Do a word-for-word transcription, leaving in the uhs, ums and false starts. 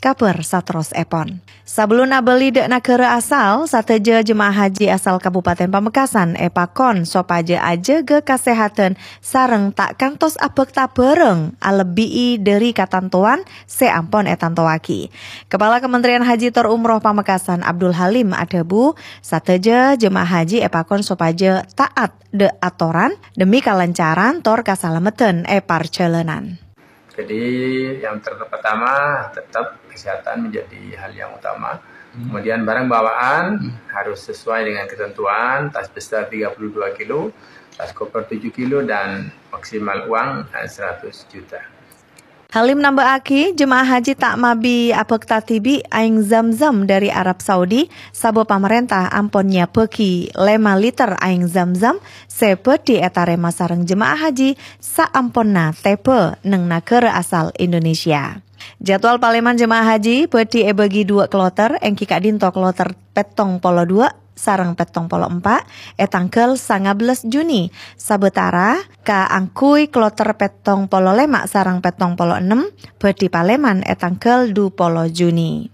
kabhâr saterrossèpon. Sabellunna abâli dâ' naghârâ asal, sadhâjâ jemaah haji asal Kabupaten Pamekasan èpakon sopajâ ajâgâ kasèhadhân sareng ta' kantos abhâkta bhârâng alebbi'i dhâri katantowan sè ampon ètantowaghi. Kepala Kementerian Haji tor Umroh Pamekasan Abdul Halim adhâbu, sadhâjâ jemaah haji èpakon sopajâ taat dâ' atoran dhemmi kalancaran tor kasalameddhân è parjhâlânan. Jadi, yang ter-, pertama, tetap kesehatan menjadi hal yang utama. Kemudian, barang bawaan harus sesuai dengan ketentuan, tas besar tiga puluh dua kilo, tas koper tujuh kilo, dan maksimal uang, eh, seratus juta. Halim namba'aghi, jemaah haji ta' mabi abhâkta dhibi' Aèng Zamzam dhâri Arab Saudi, sabâb pamarènta ampon nyabâghi lèma liter Aèng Zamzam sè bhâdhi ètarèma sareng jemaah haji saamponna tèbâ neng naghârâ asal Indonesia. Jadwal palèman jemaah haji bhâdhi èbâgi duwâ' kloter, èngghi ka'dinto kloter pèttong polo duwâ' sareng pèttong polo empa' è tangghâl sangabellâs Juni, sabâtara kaangghuy kloter pèttong polo lèma' sareng pèttong polo ennem bhâdhi palèman è tangghâl du polo Juni.